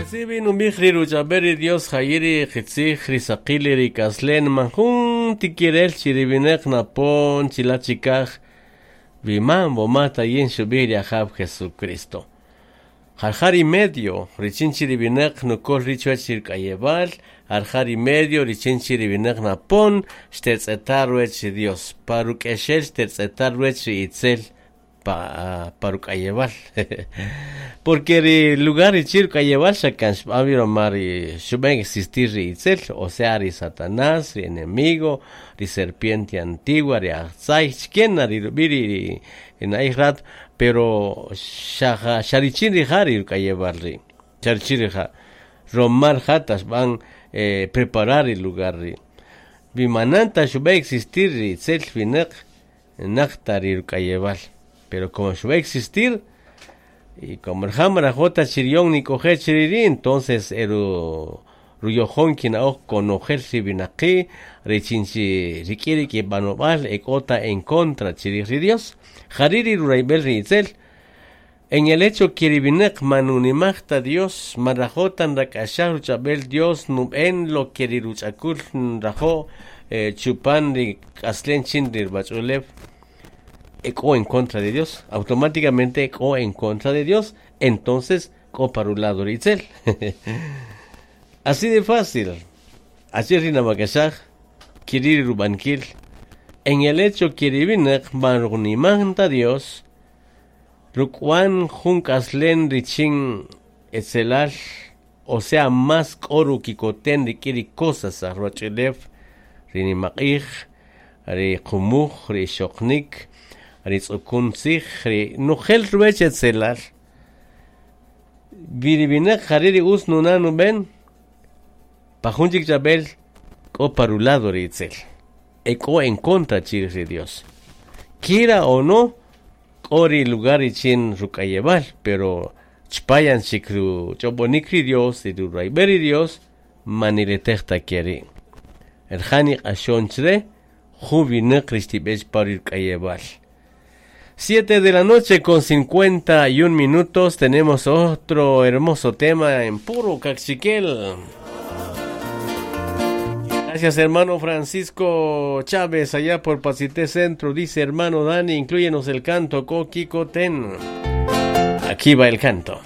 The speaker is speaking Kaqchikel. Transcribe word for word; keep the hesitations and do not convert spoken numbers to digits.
Qitzij nub'ij ri ruch'ab'el ri Dios jayiri qitzij ri saqil ri k'aslen man jun tikirel chi ri winäq napon chila' chikaj wiman woma ta yin xub'ij ri Ajaw Jesucristo. Jarja ri medio richin chi ri winäq nukol ri' chuwach ri k'ayewal, jarja ri medio richin chi ri winäq napon xtetz'eta ruwach ri Dios, pa ruk'exel xtetz'eta ruwach ri itzel pa pa ruk'ayewal. Porque ri lugar richin ruk'ayewal xa kan xb'an wi roma ri xub'an existir ri itzel, o sea ri Satanás, ri enemigo, ri serpiente antigua, ri ajtzay, chkena ri rub'i' ri ri na'ij rat, pero xa xa richin rija' ri ruk'ayewal ri', xa richin rija', roma rija' ta xb'an eh, preparar ri lugar ri'. Wimanan ta xub'an existir ri itzel winäq naq ta ri ruk'ayewal, pero como xub'an existir y como rija' marajo' ta chi riyon nik'oje' chiri' ri', entonces eru ruyojon kina'oj konojel ri winaqi' richin chi rik'in ri kib'anob'al e k'o ta en contra chirij ri Dios. Jari' ri rurayb'el ri itzel. En el hecho que ri winäq man nunimaj ta Dios, man rajo' ta nrak'axaj ruch'ab'el Dios nub'en lo que ri ruch'akul nrajo' eh, chupan ri k'aslen chin ri ruwach'ulew e k'o en contra de Dios, automáticamente k'o en contra de Dios, entonces k'o para un lado ri itzel. Así de fácil. Así ri namak'axaj kiri rub'ankil. En el hecho que ri winäq man runimaj ta Dios, ruk'wan jun k'aslen richin etzelal, o sea, más k'o rukikoten rik'in ri cosas aj ruwach'ulew, ri nimaq'ij, ri qumuj, ri xoqnik, ri tz'ukun tzij, ri nujel ruwech etzelal. Wi ri winäq jari' ri utz nuna' nub'en, pa jun chik ch'ab'el k'o pa rulado ri itzel. E k'o en contra chirij ri Dios. Quiera o no, k'o ri lugar richin ruk'ayewal, pero chpayan chik ruch'ob'onik ri Dios, ri rurayb'el ri Dios, maniletej ta keri'. Rija' niq'axon chre, jun winäq ri xtib'ech pa ri ruk'ayewal. Siete de la noche con cincuenta y un minutos, tenemos otro hermoso tema en puro Kaqchikel. Gracias, hermano Francisco Chávez, allá por Pacité Centro. Dice, hermano Dani, inclúyenos el canto Kokikoten. Aquí va el canto.